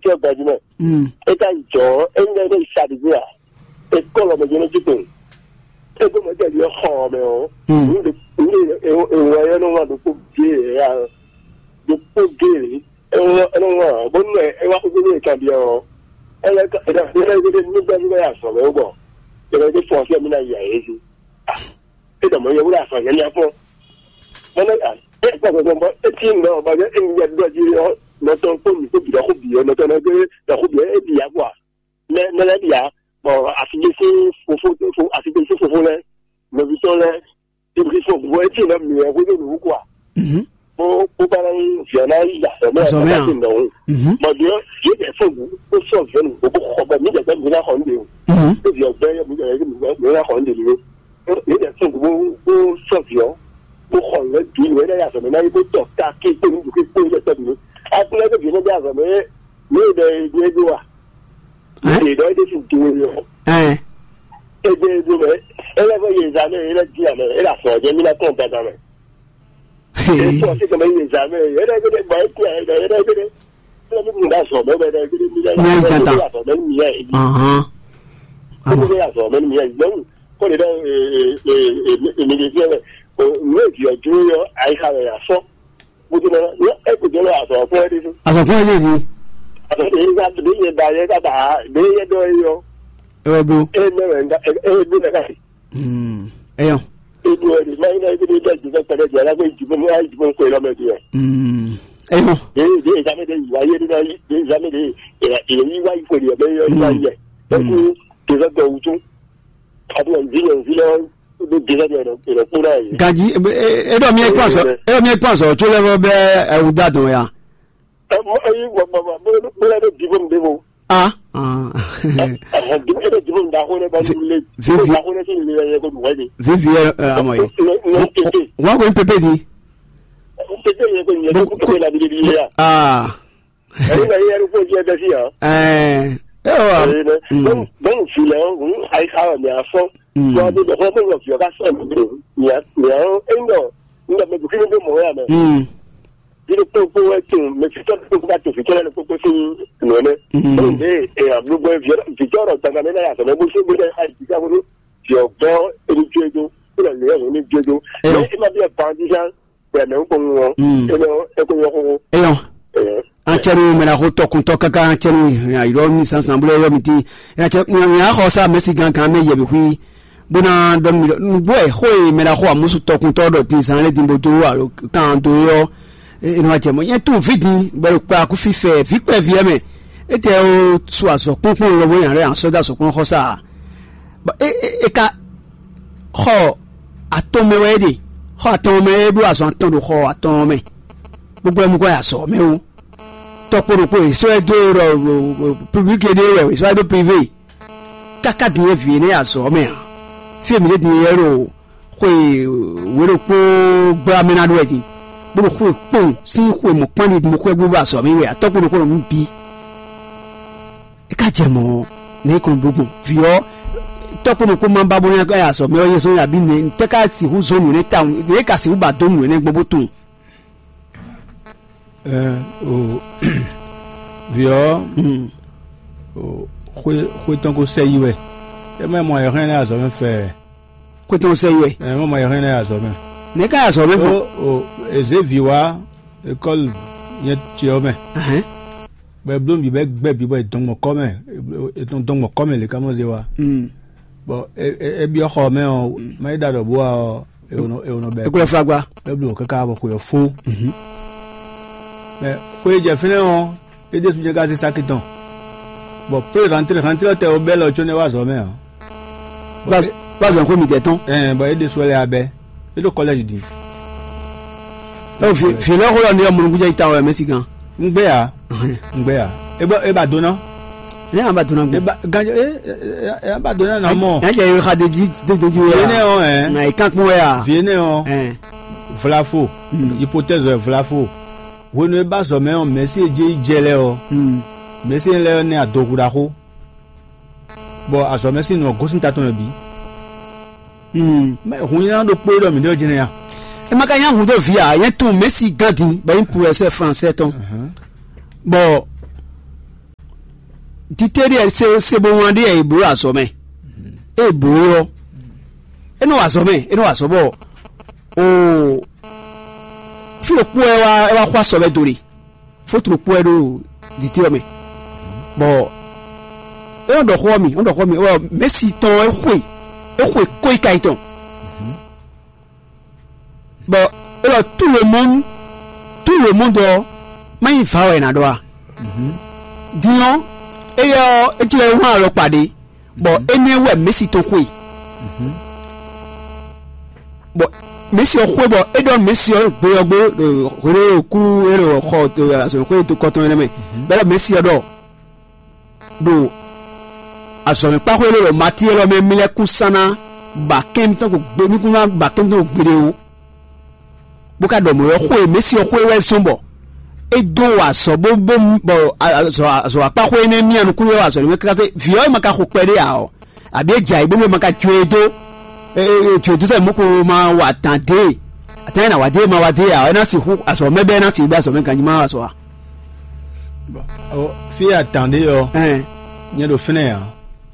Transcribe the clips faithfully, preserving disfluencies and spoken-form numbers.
tɔ́ gbajúmɔ. É ka yi jɔ̌, é ŋlɛ́ ɖo sadi jí a? É kɔ́ lɔ mɛ jɛ́nɛ jí kpɛn. É gbɔn mɛ tɛ́ ɖiɔ xɔ ɔ́ mɛ ɔ́, nǔ ɖe nǔ ɖe ewɔ ɔ́ nɔ wá ɖokpó géé ǎ, ɖokpó géé é nɔ wá bónú ɛ é wá xóxó nú è kanbyɔ́ ɔ́, é lɛ́ é lɛ́ é lɛ́ é lɛ́ nú gbɛ́ nú wɛ azɔ̌ mɛ wú bɔ é lɛ́ é fɔ́n fí ɔ́ mì ná yi ayé jí. É ɖɔ mɔ̌ yɛhúɖa afɔ nyanya kpɔ́n. Mɔ̌ é kpɔ́n gbɔn bɔ é cí nɔ bɔ é ŋu yɛ ɖɔ jí ɔ́, nɔ tɔn kpó mǐ kpó bǐ ɖɔ xó bǐ ɔ́, nɔ tɔn nɔ gbé ɖɔ xó bǐ ɔ́, é bǐ ya kpɔ́ a? Mɛ mɛ lɛ́ɛ bǐ ya, bɔ asi ɖé sín fofó asi ɖé sín fofó lɛ́ɛ, nɔví tɔn lɛ́ɛ, é bǐ fɔ bɔ é cí nɔ mǐ wɛ xwé ɖó nǔ kú a? Bó bó ka ná nyí vǐ ɔ́ ná yi azɔ̌ mɛ Azɔ̌ mɛ a? Azɔ̌ mɛ a? Nɔ o. Bɔ ɖě ɔ́, yě bɛ fɔ́n bǔ bó sɔ́ vǐ ɔ́ nǔgbó bó xɔ bɔ mǐ jɛ mǐ ná xɔ nǔ ɖe o. Bó vǐ ɔ́ gbɛ́ yɔ mǐ jɛ mǐ ná xɔ nǔ ɖe ɖo. Yě bɛ fɔ́n bǔ bó bó sɔ́ vǐ ɔ́ bó xɔ nǔ lɛ́ bǐ nǔ é ná yi azɔ̌ mɛ ná yi bó tɔ ta kí kpó nǔ bǔ kí kpó yě bɛ tɔ́ bǐ. Aklúnɔ é vǐ ɔ́ nɔ dó azɔ̌ mɛ ní e ɖɔ é ɖó a? Yě ɖɔ é ɖésú do é ɔ́. Ɛn. É ɖé é ɖó mɛ é lɛ́ fɔ yě zǎ mɛ é lɛ́ dín amɛ é ɖo afɔ jɛ mí ná kɔn dandan mɛ. Ee. Kɔ sí kɛmɛ yé zã mɛ yɛrɛ gɛdɛ gba é kú yɛrɛ gɛdɛ gɛdɛ. Fúnra mi kun da zɔ mɛ bɛ gɛdɛ gɛdɛ mi lɛ Nyɛ yi tata. Azɔ mɛ mi yɛ yi. Ahàn. Emu Amɔ. Bɛ azɔ mɛ mi yɛ yi. Nyɔnu kɔ de dɛ ee ee ee mi de fiɛ mɛ. O ne vi ɔ dúró yɔ ayi xa mɛ ya fɔ. Kutu na yɔ e kutu na azɔ fɔ yɛ de. Azɔ fɔ yɛ de. Azɔ de yi ka de yɛ da yɛ ka da de yɛ dɔ yɔ. Ewɛ bo. E mɛ wɛ nga e e bo na ka. Eyɔn. Edu ɛdi ma yi na ebi de jisɛ kpɛdɛ jɛ la ko jibo mu ayi jibo ko elɔ mɛ diɛ. Eyɔn. De de ezame de yi wa ye de na yi de ezame de yi wa yi ko diɛ bɛ yɔ yi wa yɛ. Eku tezɔ dɔ wutu. Adu ɛnvi ɛnvi lɔ de de la de ɛdɔ kpo na yi. Gaji. Edɔ mi ekpɔn sɔ edɔ mi ekpɔn sɔ tso lɛ bɛ ɛwu da dɔn ya. Ɛ mɔ eyi gbɔgbɔ ma bó bó lɛ bɛ dibo mi de bo. Ah. Ɛhɛn dibo ɛbɛ dibo mi da ko ne ba nu le. Dibo da ko ne si le yɛ ko duwɛ de. Vivi ɛ amɔ ye. Nɔ nɔ tete. Wa ko pepe di. Tete yɛ ko nyɛ ko pepe la bi de bi ya. Ah. Ɛyi na yɛ ko jɛ bɛ fi ya. Ɛɛ. Ɛ wa. Ɛyi nɛ. Donc donc filɛ o hun ayi ka wa mi afɔ. Wa bi bɛ fɔ bɛ yɔ fi ka sɔ mi de. Nya nya o eyi nɔ. N dɔ mɛ bu kí ni bɛ mɔ ya mɛ. Bídó kpókpó wɛ tún mɛ fitɔ kpókpó ka to fitɔ lɛ kpókpó sín nɔ nɛ. Bóun ɖe èyàn blúgbó fitɔ ɖɔ gbàgbà mɛ náà yàtọ̀ mɛ bó sí bó dɛ ayi ká bó viɔ gbɔ eni jojo kó lɛ lè ɛhún ní jojo. Mɛ ẹ má bí ẹ bandisán bẹ mɛ ń kó ń wọn ẹ lọ ẹ kó yọ kókó. Eyɔn. An cɛ nu mɛ na xo tɔkuntɔ kaka an cɛ nu ayɔ mi sansan bolo yɔ mi ti. An cɛ nya xɔ sa mɛ si gankan mɛ yɛ bi hui. Bó ná ɖɔ nú mì ɖɔ nǔgbó wɛ xó e mɛ ɖaxó amúsú tɔkúntɔ́ ɖɔ din zán lɛ́ɛ din bó dó alo kan dó é ɔ́, é nɔ wá jɛ mɔ̌. Nyɛ tunwun vǐ din bɔ è ɖo kpa kú fífɛ vǐ kpɛví ɔ́ mɛ. Étɛ́ ó sú azɔ̌ kpɔ́nkpɔ́n lɔ bó nya lɛ́ɛ asɔ́ dó azɔ̌ kpɔ́n xɔ sá a? Bɔ é é é ka xɔ atɔn mɛ wɛ é ɖe, xɔ atɔn mɛ é ɖó azɔn atɔn ɖo xɔ atɔn mɛ. Gbogbo ɛ mú kɔ yi azɔ̌ mɛ ó. Tɔkpo ɖokpo è sɔ́ ɛ dó é ɖɔ public é ɖe wɛ è sɔ́ ɛ dó privé. Káká din e vǐ énɛ́ yi azɔ̌ mɛ ǎ. Fí e mǐ ɖe din e ɖo xwe wě ɖokpó gbla mɛ ná ɖó wɛ din, bó ɖo xwe kpɔ́n sín xwe mɔ̌kpán ɖi mo xwɛ gbígbó azɔ̌ mɛ wɛ atɔ́kpó ɖokpó ɖo nǔ bǐ. É ka jɛ mɔ̌ nɛ̌ kɔn bló gbɔn vǐ ɔ́ tɔ́kpó ɖokpó ma ba bó ná yi azɔ̌ mɛ ɔ́ nyɛ zɔ́n abǐ nɛ̌ tɛ́ ká sixú zɔ́n nǔ énɛ́ tawun nɛ̌ ka sixú ba dó nǔ énɛ́ gbɔn bó tunwun. Ɛɛ o vǐ ɔ́ o xwé xwé tɔn ko sɛ yi wɛ. É mɛ mɔ ayɔ̌hɛn lɛ́ɛ azɔ̌ mɛ fɛɛ. Xwé tɔn sɛ yi wɛ. Ɛ mɔ mɔ ayɔ̌hɛn lɛ́ɛ azɔ̌ mɛ. Nɛ̌ ká yi azɔ̌ mɛ gbɔn? O o èzé vǐ wá ekɔ́lu nyɛ ce ɔ́ mɛ. Ahɛn. Bɔ e bló nǔ bǐ bɔ é gbɛ́ bǐ bɔ è dɔn gbɔn kɔ́ mɛ è dɔn gbɔn kɔ́ mɛ lě ká mɔ zé wá. Bɔ é é é byɔ́ xɔ ɔ́ mɛ ɔ́ má é ɖa ɖɔ bó wá ɔ́ è wǒ nɔ è wǒ nɔ bɛ́. Ekúlẹ̀ fagba. É bló káká bɔ xwe ɔ́ fó. Mɛ xwe e jɛ fínɛ́ ɔ́ é ɖésú jɛ́n ká zé sáki tɔn. Bɔ plé rantlé rantlé ɔ́ tɛ ɔ́ bɛ́ lɔ có nɛ́ wá azɔ̌ mɛ ǎ. Bá bá zɔn xwé mitɛ́ tɔn. Ɛɛ bɔ é ɖésú wɛ lɛ́ abɛ é ɖo kɔlɛ́ji din. Ɛ fi fi lɛ xó lɔ ní ɔmɔ nukúnjɛ yi ta wɛ mɛ si gan. Ŋgbé ya. Ŋgbé ya. E ba e ba dona. Ne an ba dona gbé. E ba ganjɛ e e e ba dona na mɔ. N'a jɛ yɔ xa de ji de de ji Fi wɛ ne ya. Ɔ ɛ. Na yi kan kpɔn wɛ ya. Fi ne ɔ. Ɛn. Vlafo. Hypothèse wɛ vlafo. Hwenu e ba zɔ mɛ ɔ mɛsi e je yi jɛ lɛ ɔ. Mɛsi lɛ ɔ nɛ adohu ɖaxo. Bɔ azɔ̌ mɛ sín nǔ ɔ́ gosín ta tɔn mɛ bǐ. Mɛ hun nyanya ɖokpó e ɖɔ mǐ ɖɔ jɛnɛ a? E ma ka nyí ahun dó vǐ ǎ, nyɛ tunwun Messi gán din bɔ é nyí pulɛsɛ fransɛ tɔn. Bɔ Dite ɖíe se se bo wlán ɖíe è blǒ ɖo azɔ̌ mɛ. Ée è blǒ é ɔ́, é nɔ wa azɔ̌ mɛ, é nɔ wa azɔ̌ bɔ oo fí ɖokpó wɛ wá é wá xwá sɔ wɛ do ɖe. Fótu ɖokpó wɛ ɖo dite ɔ́ mɛ. Bɔ é nɔ ɖɔ xó ɔ́ mi, é nɔ ɖɔ xó ɔ́ mi, bɔ mɛ̌si tɔn ɔ́ é xwe, é xwe kó yi ka yi tɔn. Bɔ é ɖɔ tout le monde, tout le monde ɔ́, má nyí vǎ wɛ è nǎ ɖɔ a? Din ɔ́, éyɛ́ ɔ́, é jlɛ́ wlán alɔkpa ɖé, bɔ énɛ́ wɛ Mɛ̌si tɔn xwe. Bɔ Mɛ̌si ɔ́ xwe bɔ é ɖɔ nú Mɛ̌si ɔ́ gbe ɔ́ gbe, hwenu e kú é ɖo xɔ azɔ̌xwé tɔn énɛ́ mɛ, bɔ é ɖɔ Mɛ̌si ɔ́ ɖɔ ɖo azɔ̌mɛkpáxwé élɔ́ ɖo Matíe élɔ́ mɛ mì lɛ́ kún sán ná ba kɛ́n mitɔn ko gbe mì kún ná ba kɛ́n mitɔn ko gbeɖé ó. Bó ka ɖɔ mɔ̌ ɔ́ xwe e Mɛ̌si ɔ́ xwe wɛ zɔ́n bɔ é dó wa azɔ̌ bó bó bɔ azɔ̌ azɔ̌ akpáxwé énɛ́ mì nukún wɛ wa azɔ̌ nú mɛ káká vǐ ɔ́ e ma ka xo kpɛɖé ǎ ɔ́, abǐ é jɛ ayǐ bónú é ma ka jó e dó, é jó e dó sɛ́ mɔ̌ ko ma wa dǎn dé, atán e nǎ wa dé e ma wa dé ǎ ɔ́, é ná sixú azɔ̌ mɛ bɛ́ é ná sixú bɛ́ azɔ̌ mɛ ganjí ma wa azɔ̌ ǎ. Fí e a tǎn ɖe ɔ́, nyɛ ɖo fínɛ́ ǎ.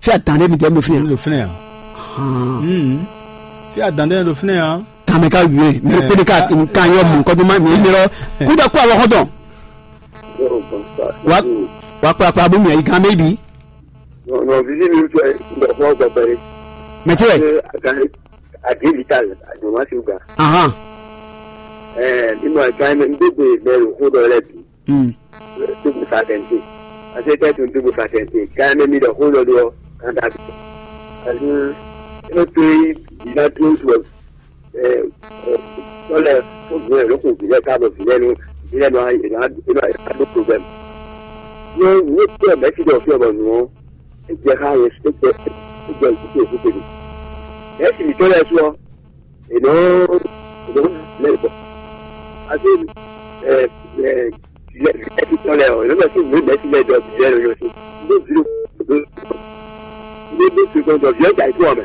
Fí a tǎn ɖe mitɛ́ mi ɖo fínɛ́ ǎ. Mi ɖo fínɛ́ ǎ. Fí a tǎn ɖe nyɛ ɖo fínɛ́ ǎ. Kan mɛ ka wíwé mɛ kpé de ka kan yɔ mɔ kɔdó ma mi mi lɔ kúta kó àwọn xɔtɔn. Wa wa kpla kpla bó mi ayi kan mɛ bi. Nɔ vivi mi fɛ ndɔ fɔ gbɛgbɛ. Mɛ tí wɛ. Adi vital adumasi gba. Ahan. Ɛɛ ni mo aka mɛ n gbogbo mɛ lo xó dɔ lɛ bi. Mm. Dugu sa tɛnte. Ase tɛ tun dugu sa tɛnte. Kan mɛ mi dɔ xó dɔ dɔ kan da bi. Alu e to yi ina to to. Ɛɛ tɔlɛ fo vile lo ko vile ka bɔ vile nu vile nu a ina ina a do problem. Yo ni ko mɛ ti dɔ fi bɔ nu. E jɛ xa ye e jɛ e jɛ e jɛ e jɛ. Mɛ si mi tɔlɛ su ɔ. Ènɔ́ ènɔ́ lɛ́ gbɔ. Ase ɛ ɛ lɛ lɛ ti tɔn lɛ ɔ ènɔ́ lɛ sí ìwé lɛ ti lɛ dɔ bi lɛ lɔ yɔ sí. Ndé zero ndé ndé fi kɔn dɔ viɛ da ikú ɔmɛ.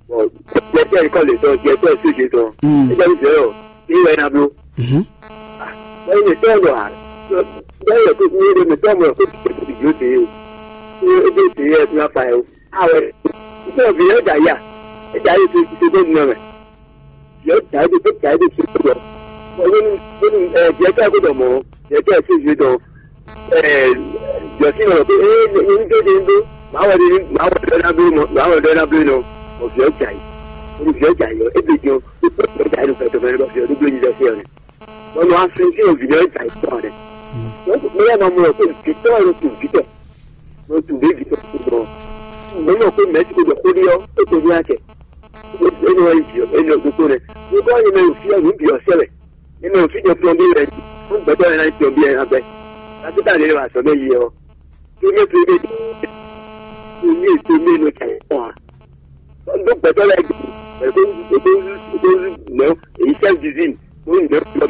Bɔn jɛtɛ ikɔ lè tɔn jɛtɛ séje tɔn. Ẹgbẹ́ mi jẹ́ ɔ ní wẹ́ ná bló. Bẹ́ẹ̀ ni tọ́ lọ à bẹ́ẹ̀ yẹ kó ní ẹgbẹ́ mi tọ́ mọ̀ kó ti tẹ̀sí ìdílé tèé o. Ó dé tèé ẹ fúnra fa ẹ o. Awɛ, nítorí ọ̀bì yẹn dà yà, ẹ dà yà ètò ìṣiṣẹ́ tó nínú rẹ̀. Yẹn dà yà ètò dà yà ètò ìṣiṣẹ́ tó lọ. Wọ́n ní wọ́n ní ẹ jẹ́ ká gbọ́dọ̀ mọ̀ ẹ jẹ́ ká ṣe ìṣe dán. Ẹ jọ sí ọ̀rọ̀ pé ẹ ní ní dédé ń dó, màá wọ̀ dé màá wọ̀ dé náà bí mọ̀ màá wọ̀ dé náà bí nọ. Ọ̀bì yẹn dà yà, olùbí yẹn dà yà, ẹ bẹ jẹun, ó pẹ́ pẹ́ dà yà ló fẹ́ tó mẹ́rin lọ fi ọdún gbé yín lọ sí ọ̀rẹ́. Wọ́n lọ wá fi sí òbí yẹn dà yà tán rẹ̀. Wọ́n kò pé ẹ máa mú ọ pé ìfitọ́ ẹ̀rọ tó ìfitọ́. Lọ tun ɖě vi tɔn kpó gbɔn. Mɛ nɔ kó mɛ ti ko ɖɔ xó ɖi ɔ́, é ko ní akɛ. É nɔ yi jǐ ɔ́, é nɔ ɖokpó nɛ. Nukɔ yi mɛ fi ɔ́, nǔ bǐ ɔ́ sɛ wɛ. É mɛ fi jɔ plɔn bí wɛ. Fún gbɛtɔ́ yẹn náà jọ bí yẹn abẹ. Kàtíkà lè wà sọ mẹ́ yi ɔ́. Tó mẹ́ tó mẹ́ tó mẹ́ tó mẹ́ nɔ cà yẹ kpɔn a. Ɖó gbɛtɔ́ lɛ́ɛ gbe, è kó è kó è kó mɛ èyí sɛ́ vivine. Yɔ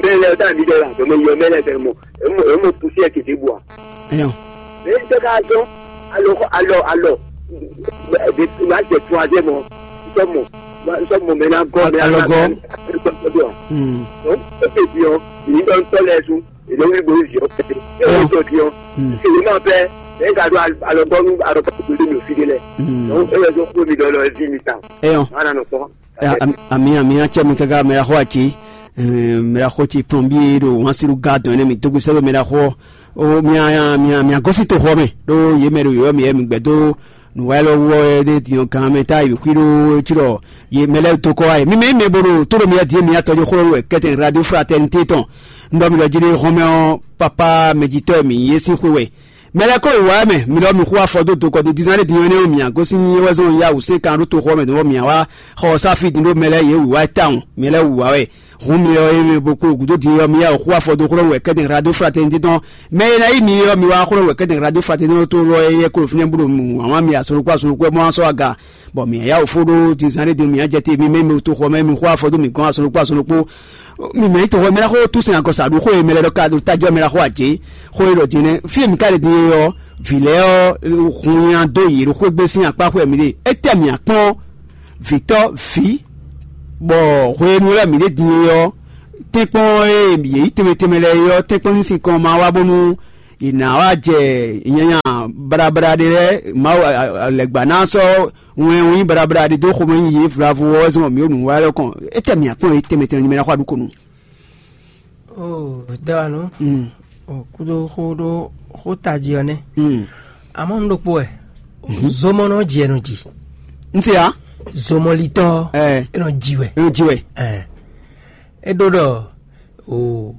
mɛ lɛ tá mi ɖe la, yɔ mɛ yɔ mɛ lɛ fɛ mɔ, emo emo pusi ɛ kete bua. Ɛyɔ. Mɛ tɛ ka zɔn alɔ alɔ alɔ de ma jɛ tún azɛ mɔ nsɔ mɔ nsɔ mɔ mɛ na gɔ mɛ Alɔ gɔ. Gɔ. Donc e te di ɔ ni dɔn tɔ lɛ su e lɛ wuli bo zi ɔ pɛtɛ e wuli tɔ di ɔ se wo ma pɛ e ka do alɔ gɔ nu alɔ gɔ ko de mi o fi de lɛ. Donc e wɛ zɔn ko mi dɔ lɔ e vi mi ta. Ɛyɔ. Ana nɔ kpɔn. Ami ami acɛ mi kaka mɛ la xɔ aci mɛ la xɔ ci plɔnbi ɖo wansiru ga dɔn ne mi dogbe sɛbɛ mɛ la xɔ o mia mia mia gɔsi to xɔ mɛ ɖo ye mɛ ɖo yɔ mi yɛ mi gbɛ do nuwa lɔ wɔ ɖe diɔ gan mɛ ta yi xwi ɖo tsi lɔ ye mɛ lɛ to kɔ ayi mi mɛ mɛ bo ɖo to ɖo mi di mi atɔ jo xɔ wɛ kɛtɛ radio fraternité tɔn ndɔ mi lɔ ji ɖe xɔmɛ ɔ papa mɛ jitɔ mi ye si xwe wɛ. Mɛ lɛ́ɛ kó yi wǎ mɛ, mi lɔ mi xú afɔ dó dokɔ dídí zán ɖé din ɔ́ nɛ́ ɔ́, mǐ gosín nyí wɛ zɔn ya wǔ sɛ́n kan ɖó toxo ɔ́ mɛ dɔn bɔ mǐ wá xɔ ɔ́ sá fí din ɖó mɛ lɛ́ɛ yě wǐwá tawun, mɛ lɛ́ɛ wǐwá wɛ. Hǔn mi ɔ́, é mɛ bo kpo gǔdo din ɔ́, mi yá wǔ xú afɔ dó xlɔ́ wɛ kɛ́dɛn hlado fratɛnití tɔn. Mɛ e ná yí mi ɔ́, mi wá xlɔ́ wɛ kɛ́dɛn hlado fratɛnití tɔn tó lɔ é yɛ klo fínɛ́ bó ɖo wǎn wá mi azɔn ɖokpó azɔn ɖokpó wɛ mɔ wá sɔ́ aga. Bɔ mǐ yá wǒ fó ɖó din zán ɖé din mǐ yá jɛ te mi mɛ mi to xɔ mɛ mi xó afɔ dó mǐ gɔ́n azɔn ɖokpó azɔn ɖokpó. Mi mɛ yi to xɔ mɛ ná xó tún sɛn agɔ sa ɖu xó e mɛ lɛ ɖɔ ka ɖo tajɔ mɛ la xó ajé xó e ɖɔ din nɛ fí e mi ka ɖe din e ɔ́ vǐ lɛ́ɛ ɔ́ hun nya dó yě ɖo xwé gbé sín akpá xó e mi ɖe. Étɛ́ mǐ akpɔ́n vǐtɔ́ vǐ bɔ hwenu e mi ɖe din e ɔ́ tɛ́nkpɔ́n e yě yí tɛnmɛ tɛnmɛ lɛ́ɛ é ɔ́ tɛ́nkpɔ́n sín sinkɔn ma wá bónú Yě ná wá jɛ nyanya baɖabaɖa ɖé lɛ́ɛ, Mawu lɛ̌gbá ná sɔ́ wɛn wɛn nyí baɖabaɖa ɖé dó xomɛ nyi yě vlavo ɔ́ zɔn mǐ ɖo nǔ wa lɛ́ɛ kɔn. Étɛ́ mǐ akpɔ́n yě tɛnmɛ tɛnmɛ nyí mɛ ná xɔ aɖúkonu. Oo, dɛwanú, o kúdó xó ɖó xó tají ɔ́ nɛ́. Amɔ́ nu ɖokpó wɛ, zomɔ nɔ jɛ nɔ ji. Un se ya? Zomɔlitɔ Ɛ. E nɔ ji wɛ. E nɔ ji wɛ. Ɛ. E ɖó ɖɔ o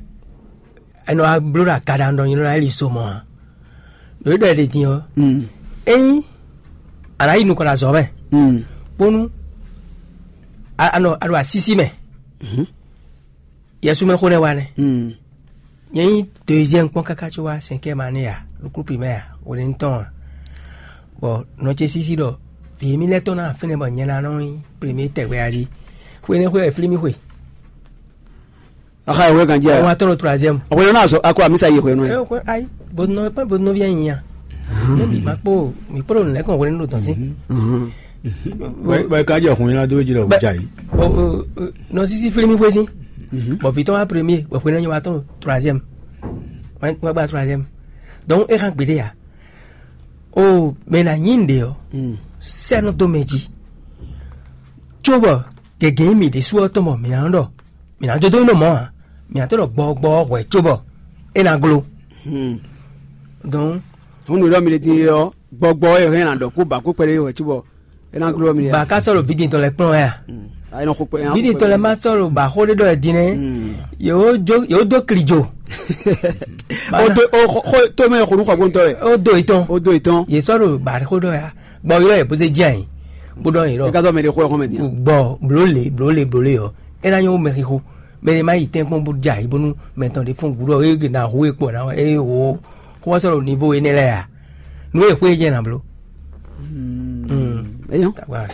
e nɔ wá bló ɖo agaɖa ɖɔ nyí nɔ wá li zomɔ ǎ. Ɖo e ɖɔ e ɖe din ɔ́, ényí a nǎ yi nukɔn ɖo azɔ̌ mɛ bónú a a nɔ a ɖo asísí mɛ. Yɛsu mɛ xó nɛ́ wa nɛ́. Nyɛ nyí deuxième kpɔ́n káká có wá cinquième année a ɖo groupe primaire a hwenɛ́nu tɔn a. Bɔ nɔ ce sísí ɖɔ vǐ émí lɛ́ɛ tɔn ná fínɛ́ bɔ nyɛ ná nɔ nyí premier tɛgbɛ a jí. Hwenɛ́ xwe wɛ flí mì xwe. Axa ìwé kan jẹ́ Wọ́n wá tɔrọ troisième. Ọ̀pọ̀ náà sọ akọ àmísà yìí ìwé náà. Ẹ kò ayi vodunɔ pé vodunɔ fi yẹn yìnyín a. Ne mi ma kpó mi kpó ɖo nìlẹ́kùn wọlé ní ɖo tɔn sí. Bɛ ka jɛ hun yín ládó jí lɔ wò jà yìí. Nɔ sisi fili mi xwé sí. Bɔn vitɔ wa premier bɔn xwé náà nyɛ wa tɔn troisième. Wa gba troisième. Donc e kan gbede ya. O mɛ na nyi nɖe ɔ. Sɛnɛ dó mɛ jí. Tso bɔ gɛgɛ mi ɖésú ɔ tɔn bɔ mi na ɖɔ mi na jó dó nɔ mɔ a mi na tó ɖɔ gbɔgbɔ hwɛ tso bɔ e na glo. Donc Hún nǔ ɖɔ mi ɖe din ɔ gbɔgbɔ ɛ hɛn na ɖɔ kó ba kó kpɛɖé wɛ cóbɔ é ná gló mi. Ba ka sɔ̀rọ̀ vidin tɔn lɛ kplɔn ya. Ayi nɔ xo kpɛ. Vidin tɔn lɛ ma sɔ̀rọ̀ ba xó ɖé ɖɔ ɛ din nɛ. Yóò jó yóò dó kli jo. O do o xo to mɛ xo nu xɔ gbɔntɔ yɛ. O do itɔn. O do itɔn. Yé sɔ̀rọ̀ ba xó ɖɔ ya. Gbɔ yɔrɔ yɛ bó se jẹ́ yìí. Bó dɔn yìí E rɔ. ka sɔ mɛ de xo ɛ xɔmɛ din. Gbɔ bló le bló le bló le ɔ. E na nyɔ mɛ xixo. Mɛ de ma yi tɛn kpɔn bó dza yi bónú mɛ tɔn de fún gúdɔ e na hu e kpɔ na e wo. Xó sɔ̀rọ̀ niveau enɛ lɛ ya. Nu e xó e jẹ́ na bló. Eyɔn. Tagba.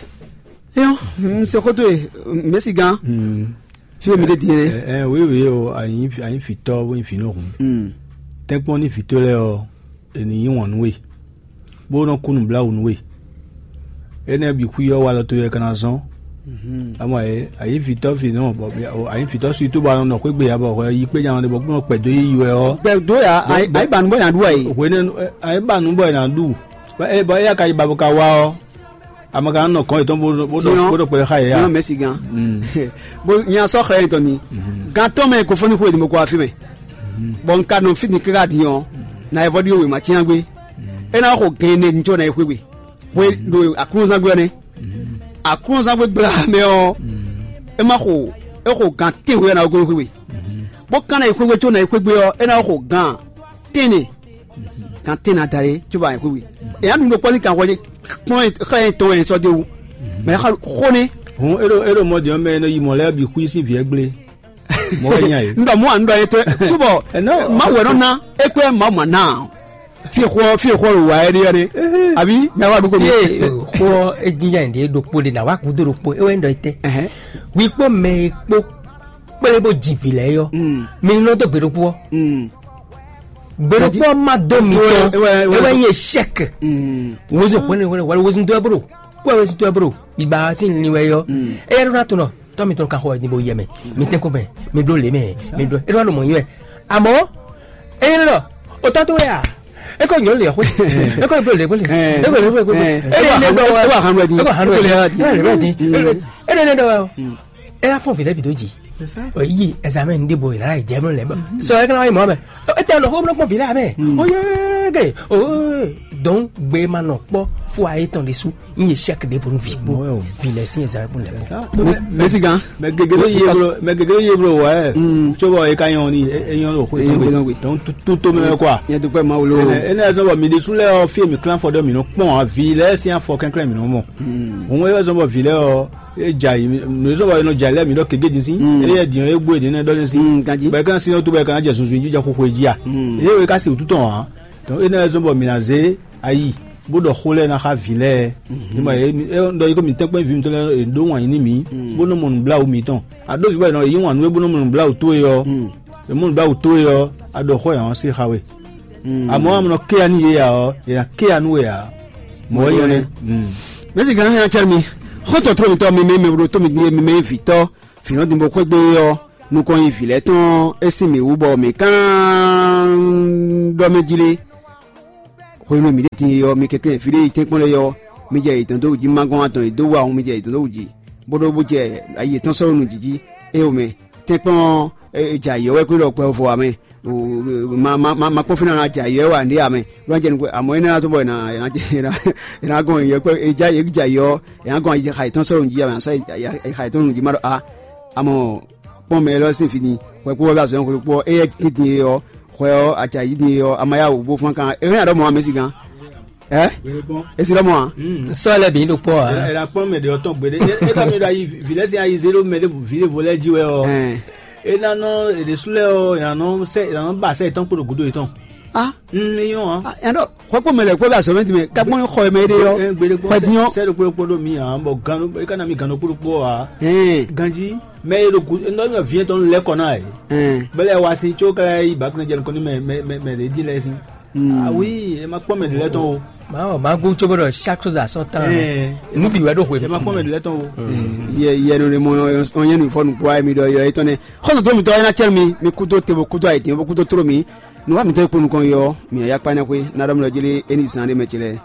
Eyɔn. Mse koto ye. Mesi gan. Fi mi de din yɛ. Ɛ wi wi o ayi ayi fitɔ bo nyi fi no hun. Tɛnkpɔn ni fitɔ lɛ ɔ eni yi wɔn nu we. Bo nɔ kunu bla wo nu we. Enɛ bi kui ɔ wa lɔ to yɛ kana zɔn. Ama ye ayi fitɔ fi no bɔ ayi fitɔ si to ba nɔ xwegbe ya bɔ yi kpe nya de bɔ kunu kpɛ do yi wɛ ɔ. Gbɛ do ya ayi ayi ba nu bɔ yan du ayi. Hwene ayi ba nu bɔ yɛ na du. Bɔ eya ka yi ba bo ka wa ɔ. Ame kan nɔ kɔn yětɔn bó bó Tiɲɔ. Bó ɖo kpɛɖé xa yě ya. Tiɲɔ mɛsi gan. Bó nya sɔ xlɛ yɛn tɔn ni. Gan tɔn mɛ kofɔni xo edimɔ kɔ afi mɛ. Bɔn n ka nɔ fi ni kaka di ɔ na evɔ di o wema tiɲa gbe. E na xo gɛn ne ŋtsɔ na exwe gbe. Xwe ɖo aklunzangbe ɔnɛ. Aklunzangbe gbla mɛ ɔ. E ma xo e xo gan tɛnwe na ogo xwe gbe. Bó kan na exwe gbe tso na exwe gbe ɔ e na xo gan tɛnɛ kan tɛn na da ye tso ba yɛn xwixwi. Eya nu ɖokpɔ ni kan xɔ kpɔn xlɛ yɛn tɔn yɛn sɔ de wu. Mɛ xa xo ne. Hun eɖo eɖo mɔ diɔ mɛ nɔ yi mɔ lɛ bi xui si viɛ gble. Mɔ wɛ nya ye. N dɔ mɔ an dɔ ye tɛ tubɔ. Ɛnɔ. Ma wɛ nɔ na ekpɛ ma ma na. Fi xɔ fi xɔ lo wa yɛ de yɛ de. Abi mɛ wa du ko mi. Ye xɔ edzinzã yɛn de ɖokpo de na wa kudo ɖokpo ewɛ n dɔ ye tɛ. Wi kpɔ mɛ kpɔ kple bó dzi vi lɛ yɔ. Mi nɔ dɔ gbe ɖokpo. Gbɛɖokpɔ ma dó mi tɔn ewɛ ye sɛk. Wozu kpɔnɛ wɛrɛ wɛrɛ wozu dɔ bro kó wozu dɔ bro. Biba sin ni wɛ yɔ. Eya ɖo na to nɔ tɔ mi tɔn ka xɔ ni bo yɛ mɛ. Mi tɛ ko mɛ mi blo le mɛ mi blo e ɖo mɔ yi wɛ. Amɔ eyi lɔ o tɔ to wɛ a. E ko nyɔ le xwe e ko blo le xwe e ko le xwe xwe e le ne dɔ wɛ e wa hanu wɛ di e le ne dɔ wɛ. E la fɔ vi lɛ bi do dzi. Yi examen ɖe bo yi la yi jɛ mlɔ lɛ bɔ. Sɔ e kana yi mɔ mɛ. E tɛ nɔ xo mlɔ kpɔn vi lɛ mɛ. O ye ge o donc gbe ma nɔ kpɔ fo ayi tɔn de su. N ye chèque de pour vi kpo vi lɛ si examen pour lɛ bɔ. Mesi gan. Mɛ gegede ye blo mɛ gegede ye blo wɛ. Tso bɔ e ka nyɔ ni e nyɔ lo xo e nyɔ gbe donc tout to mɛ quoi. Yɛ dukpɛ ma wolo. Ene ɛzɔ bɔ mi de su lɛ ɔ fi mi klan fɔ dɔ mi nɔ kpɔn a vi lɛ si afɔ kɛnklɛn mi nɔ mɔ. Hun e ɛzɔ bɔ vi lɛ ɔ e dza yi nɔ zɔ wa nɔ dza lɛ mi ɖɔ kege din si eye diɔ e gbo ede ne ɖɔ ne si bɛ kan si to bɛ kan jɛ sunsun jija xoxo e dzi a eye o ka si wutu tɔn a tɔn e na zɔn bɔ mi na ze ayi bó ɖɔ xó lɛ na xa vi lɛ ni ma ye e ɖɔ yi ko mi tɛnkpɛn vi mi tɔn lɛ e ɖo wan yi ni mi bó nɔ mɔ nu bla wo mi tɔn a ɖo vi bɔ e nɔ yi wan nu e bó nɔ mɔ nu bla wo to e yɔ e mɔ nu bla wo to e yɔ a ɖɔ xó yàn wan se xa we. Amɔ amɔ nɔ kéya nú yě ya ɔ yě ná kéya nú we ǎ. Mɔ̌ é nyɔ́ nɛ́. Mɛsi gan hɛn atsɛ mi xɔtɔ tró mitɔ mi mɛ mɛ ɖo tó mi din mi mɛ vitɔ fínɔ dimbo xwégbe ɔ nukɔn yi vǐ lɛ́ɛ tɔn é sín mǐ wú bɔ mǐ kán ɖɔ mɛ jí lé. Hwenu e mǐ ɖe din e ɔ́, mi kɛnklɛ́n fí ɖé yi tɛ́nkpɔ́n lɛ́ɛ ɔ́, mi jɛ yětɔn dó wǔ jí, ma gɔ́n atɔn e dó wa ɔ́, mi jɛ yětɔn dó wǔ jí, bó ɖó bó jɛ ayi yětɔn sɔ́ nǔ jí jí. Éyɛ́ mɛ, tɛ́nkpɔ́n ɔ́, é jɛ ayǐ ɔ́ wɛ kú ɖɔ gbɛ vɔ ǎ mɛ. Ma ma ma ma kpɔ́n fínɛ́ ná jɛ ayǐ ɔ́ wɛ ǎ ɖé ǎ mɛ. Ló ná jɛ nukún, àmọ́ énɛ́ ná zɔ́n bɔ è nǎ è nǎ è nǎ è nǎ gɔn yě kpɛ́ è já yě jɛ ayǐ ɔ́, è nǎ gɔn ayixa yětɔn sɔ́ nǔ jí ǎ mɛ, sɔ́ ayixa yětɔn nǔ jí má ɖɔ a. Àmọ́ kpɔ́n mɛ élɔ́ sín fí ni, hwɛ kpó wɛ bá zɔn hwɛ kpó ɔ́, éyɛ́ tíntín é ɔ́, hwɛ ɔ́, acǎ yí din é ɔ́, a ma yá wǔ bó fán kan. É hɛn aɖɔ́ mɔ amɛ si gán. Ɛ? Gbéɖé kpɔ́n. É si ɖɔ́ mɔ ǎ. Mm. Sɔ́ lɛ́ bǐ ɖo kpɔ́ ǎ. Ela kpɔ́n mɛ ɖě ɔ́ tɔn gbeɖé. É é ɖɔ mi ɖo ayi vǐ lɛ́ɛ sín ayi zé ɖó mɛ ɖé vǐ ɖěvo lɛ́ɛ jí wɛ ɔ́. Ɛn. É ná nɔ èɖésú lɛ́ɛ ɔ́, è nǎ nɔ sɛ è nǎ nɔ ba sɛ yětɔn kpo ɖo gǔdo yětɔn. A. Mm, é nyɔ́ ǎ. Ɛn ɖɔ hwɛ kpó mɛ lɛ́ɛ kpó bɛ azɔ̌ mɛ din mɛ kápɔn xɔ e mɛ é ɖe ɔ́. Ɛ gbeɖé kpɔ́n. Hwɛ din ɔ́. Sɛ ɖokpó ɖokpó ɖo mi ǎ, bɔ gan é ka ná mi gan ɖokpó ɖokpó ǎ. Ɛn. Ganjí mɛ e ɖo gǔ é nɔ vǐ yɛn tɔn lɛ́ kɔ ná ɛ. Ɛn. Bɛlɛ wa sin tso ká yi ba kúnlɛ jɛ nukɔn ní mɛ mɛ mɛ mɛ ɖě dín lɛ́ɛ sín. Ah oui, ɛ ma kpɔ́n mɛ ɖě lɛ́ɛ tɔn o. Mawɔ ma gún tso bɔ chaque chose à son temps. Ɛɛ. Nu bi wɛ ɖo hwe. Ɛ ma kpɔ́n mɛ ɖě lɛ́ɛ tɔn o. Yɛ yɛ nɔ ɖe mɔ ɔn yɛ nu fɔ nukpo ayi mi ɖɔ yɔ etɔn nɛ. Xɔsɔ tó mi tɔ ɛ na cɛ mi mi kudo te bo kudo ayi tɛn bo kudo tro mi. Nu wa mi tɔ ekpo nukɔn yɔ mi ya kpa ne xwe na ɖɔ mi lɔ jeli eni zan ɖe mɛ cɛ lɛ.